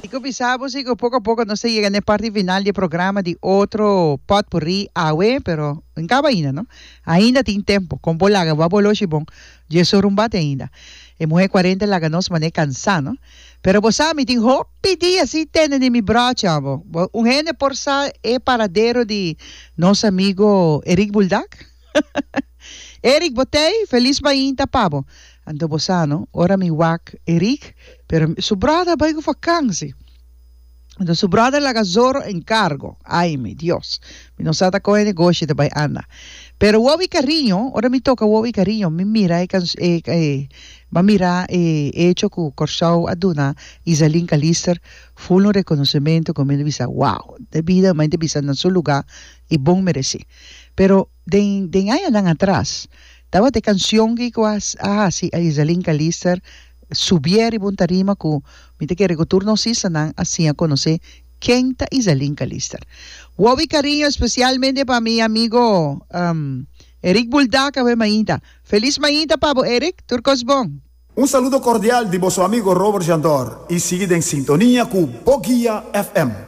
Kiko bisa bo si ku poko a poko nos ta yega na e parti final di e programa di otro potpourri awe, pero en kaba ainda no. Ainda tin tempo, kon bo laga bo a boloshi bon, dje sor un bate ainda. E muhe kuarenta laga nos man'e kansa no. Pero bo sa mi tin hopi dia sin tende di mi brochi amo. Bo un hende por sa e paradero di nos amigo Eric Buldak? Eric bo tei? Felis mainta pa bo. Anto bo sa no, ora mi wak Eric, pero su brother a bai ku vakansi. Anto su brother laga Zorro en cargo. Ay mi Dios. Mi no sa ta con e negoshi ta bai anda. Pero Wowi Cariño, ora mi toca Wowi Cariño, mi mira e can e e m'a mira e hecho cu Corsou a duna Izaline Calister full un reconocimento cu mi ta bisa wow, de bida mi ta bisa na su lugar y bon mereci. Pero den den añanan atras tabata e cancion ki cu a a haci a Izaline Calister subié riba un tarima cu mi ta kere cu tur nos islanan a siña conoce ken ta Izaline Calister. Wowi cariño especialmente pa mi amigo Eric Buldak awe mainta. Feliz mainta pa bo Eric, tur cos bon. Un saludo cordial di boso amigo Robert Jandor y sigui den sintonia cu Bo Guia FM.